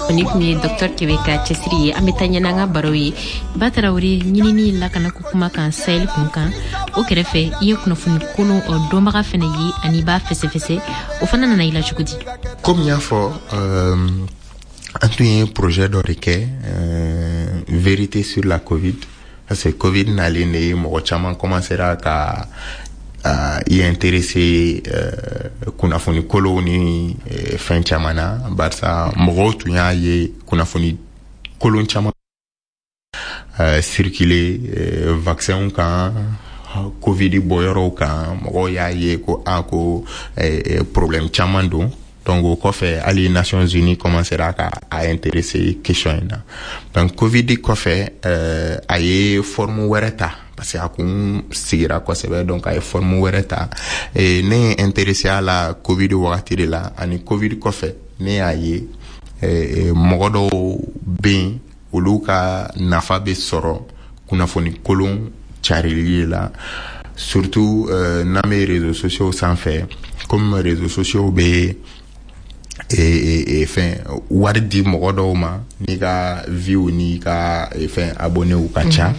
Ni tun ye Dr Kebe ka cɛsiri ye. An bɛ taa ɲɛ n'an ka baro ye. Ba Tarawele, ɲinini lakanako kuma kan Sahel kun kan, o kɛrɛfɛ i ye kunnafoni kolon dɔnbaga fɛnɛ ye ani i b'a fɛsɛfɛsɛ. O fana nana i la cogo di? Komi n y'a fɔ, an tun ye projet dɔ de kɛ, vérité sur la Covid, parce que Covid nalen de ye, mɔgɔ caman commencera ka i intéressé kunnafoni kolow ni fɛn caman na, barisa mɔgɔw tun y'a ye kunnafoni kolon caman circuler vaccin kan, Covid bɔyɔrɔw kan. Mɔgɔw y'a ye ko a ko problème caman don. Donc o kɔfɛ, hali Nations Unies commencera ka a intéressé question in na. Donc Covid kɔfɛ, a ye forme wɛrɛ ta, parce que a kun sigira kosɛbɛ. Donc a ye forme wɛrɛ ta. Ne ye intéressé a la Covid wagati de la, ani Covid kɔfɛ ne y'a ye mɔgɔ dɔw bɛ yen, olu ka nafa bɛ sɔrɔ kunnafoni kolon carili la, surtout n'an bɛ réseaux sociaux sanfɛ. Comme réseaux sociaux bɛ fɛn wari di mɔgɔ dɔw ma n'i ka vues n'i ka fɛn abonnéw ka ca,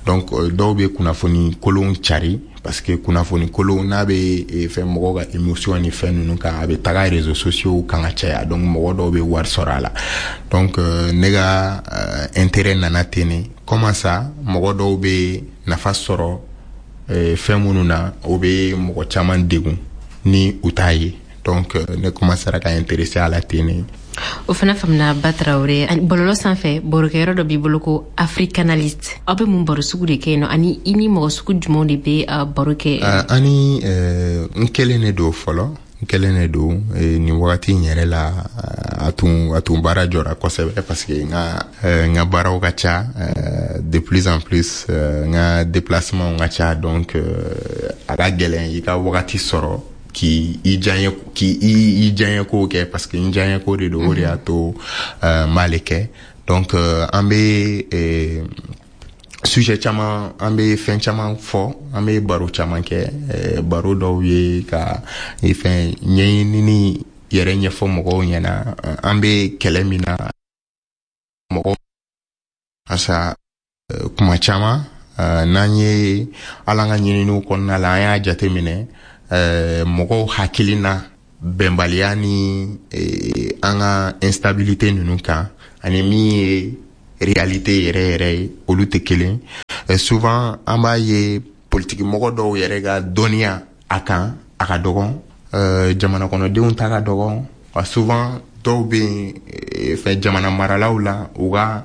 donc dɔw bɛ kunnafoni kolon cari, parce que kunnafoni kolon n'a bɛ fɛn mɔgɔw ka émotion ni fɛn ninnu kan, a bɛ taga réseaux sociaux kan ka caya. Donc mɔgɔ dɔw bɛ wari sɔrɔ a la. Donc ne ka intérêt nana ten de. Comment ça, mɔgɔ dɔw bɛ nafa sɔrɔ fɛn minnu na, o bɛ mɔgɔ caman degun ni u t'a ye. Donc ne commencera ka intéresser a la ten de. O fana faamuna. Ba Tarawele, bɔlɔlɔ sanfɛ barokɛyɔrɔ dɔ b'i bolo ko Africanaliste. Aw bɛ mun baro sugu de kɛ yen nɔ, ani i ni mɔgɔ sugu jumɛnw de bɛ baro kɛ? Ani n kelen de don fɔlɔ, n kelen de don. Nin wagati in yɛrɛ la, a tun baara jɔra kosɛbɛ, parce que n ka baaraw ka ca de plus en plus, n ka déplacement ka ca. Donc a ka gɛlɛn i ka wagati sɔrɔ k'i i diyaɲɛ k'i i diyaɲɛ kow kɛ, parce que n diyaɲɛ ko de don. O de y'a to n b'ale kɛ. Donc an bɛ sujet caman, an bɛ fɛn caman fɔ, an bɛ baro caman kɛ. Baro dɔw ye ka fɛn ɲɛɲinini yɛrɛ ɲɛfɔ mɔgɔw ɲɛna, an bɛ kɛlɛ min na mɔgɔw. Asa kuma caman, n'an ye ala ka ɲininiw kɔnɔna la, an y'a jateminɛ mɔgɔw hakilina bɛnbaliya ni an ka instabilité ninnu kan, ani min ye réalité yɛrɛ yɛrɛ ye, olu tɛ kelen. Souvent an b'a ye politiki mɔgɔ dɔw yɛrɛ ka dɔnniya a kan, a ka dɔgɔn, jamana kɔnɔdenw ta ka dɔgɔn. Souvent dɔw bɛ yen fɛn jamana maralaw la, u ka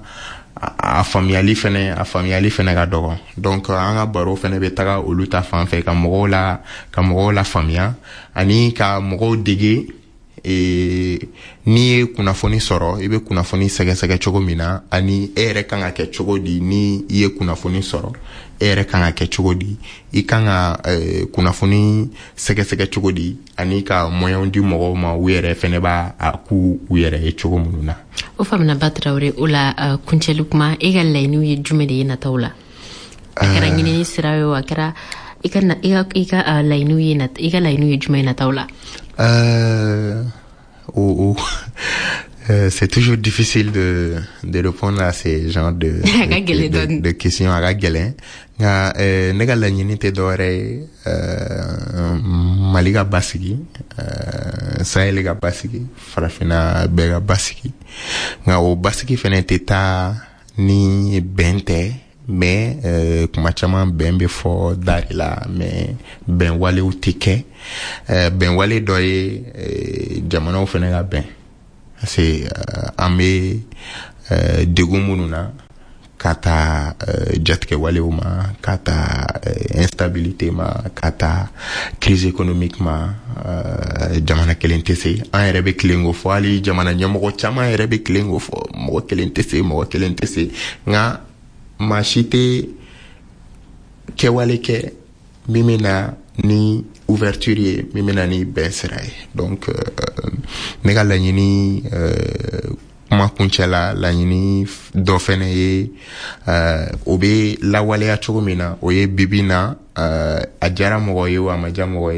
a faamuyali fɛnɛ ka dɔgɔn. Donc an ka baro fɛnɛ bɛ taga olu ta fan fɛ, ka mɔgɔw la faamuya ani ka mɔgɔw dege n'i ye kunnafoni sɔrɔ, i bɛ kunnafoni sɛgɛsɛgɛ cogo min na, ani e yɛrɛ kan ka kɛ cogo di ni i ye kunnafoni sɔrɔ, e yɛrɛ kan ka kɛ cogo di, i kan ka kunnafoni sɛgɛsɛgɛ cogo di, ani ka moyen di mɔgɔw ma, u yɛrɛ fɛnɛ b'a a k'u u yɛrɛ ye cogo minnu na. O faamuna, Ba Tarawele. O la kuncɛli kuma, e ka laɲiniw ye jumɛn de ye nataw la? A kɛra ɲinini sira ye o, a kɛra i ka laɲiniw ye, i ka laɲiniw ye jumɛn ye nataw la? Oh, c'est toujours difficile de répondre à ces genres de questions. A ka gɛlɛn, nka ne ka laɲini tɛ dɔwɛrɛ ye, Mali ka basigi, Sahel ka basigi, farafinna bɛɛ ka basigi. Nka o basigi fɛnɛ tɛ taa ni bɛn tɛ. Mais kuma caman bɛn bɛ fɔ da de la, mais bɛn walew tɛ kɛ. Bɛn wale dɔ ye jamanaw fɛnɛ ka bɛn, parce que an bɛ degun minnu na, ka taa jatigɛwalew ma, ka taa instabilité ma, ka taa crise économique ma, jamana kelen tɛ se. An yɛrɛ bɛ tilen k'o fɔ, hali jamana ɲɛmɔgɔ caman yɛrɛ bɛ tilen k'o fɔ, mɔgɔ kelen tɛ se, mɔgɔ kelen tɛ se. Nka maa si tɛ kɛwale kɛ min bɛ na ni ouverture ye, min bɛ na ni bɛn sira ye. Donc ne ka laɲini, kuma kuncɛ la, laɲini dɔ fɛnɛ ye, o bɛ lawaleya cogo min na, o ye bibi na, a diyara mɔgɔ ye o, a ma diya mɔgɔ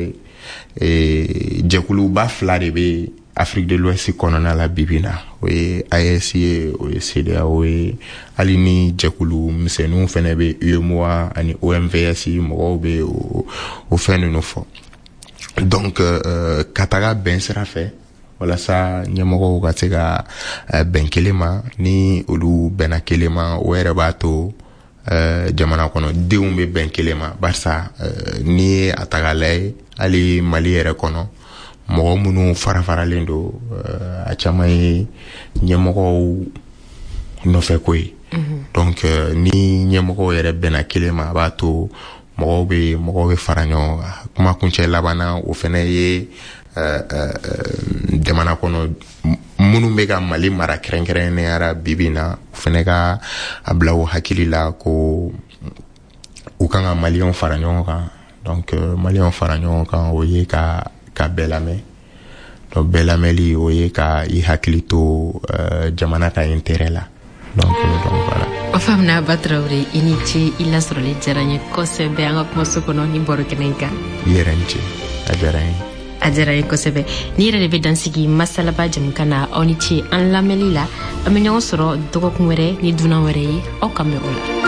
ye, jɛkuluba fila de bɛ Afrique de l'Ouest kɔnɔna la bibi na, o ye AES ye, o ye CEDEAO ye, hali ni jɛkulu misɛnninw fɛnɛ bɛ UEMOA ani OMVS, mɔgɔw bɛ o fɛn ninnu fɔ. Donc ka taga bɛn sira fɛ walasa ɲɛmɔgɔw ka se ka bɛn kelen ma, ni olu bɛnna kelen ma, o yɛrɛ b'a to jamana kɔnɔ denw bɛ bɛn kelen ma. Barisa n'i ye a ta k'a lajɛ, hali Mali yɛrɛ kɔnɔ, mɔgɔ minnu fara faralen don, a caman ye ɲɛmɔgɔw nɔfɛ ko ye. Donc ni ɲɛmɔgɔw yɛrɛ bɛnna kelen ma, a b'a to mɔgɔw bɛ fara ɲɔgɔn kan. Kuma kuncɛ laban na, o fɛnɛ ye jamana kɔnɔ minnu bɛ ka Mali mara kɛrɛnkɛrɛnnenya la bibi in na, o fɛnɛ ka a bila u hakili la ko u kan ka Maliyɛnw fara ɲɔgɔn kan. Donc Maliyɛnw fara ɲɔgɔn kan, o ye ka bɛɛ lamɛn. Donc bɛɛ lamɛnli, o ye ka i hakili to jamana ka intérêt la. Donc voilà. O faamuna. Ba Tarawele, i ni ce, i lasɔrɔli diyara n ye kosɛbɛ an ka kumaso kɔnɔ ni baro kɛnɛ in kan. I yɛrɛ ni ce, a diyara n ye. A diyara n ye kosɛbɛ. Ni yɛrɛ de bɛ dansigi masalaba jamukan na. Aw ni ce an lamɛnli la. An bɛ ɲɔgɔn sɔrɔ dɔgɔkun wɛrɛ ni dunan wɛrɛ ye. Aw ka mɛn o la.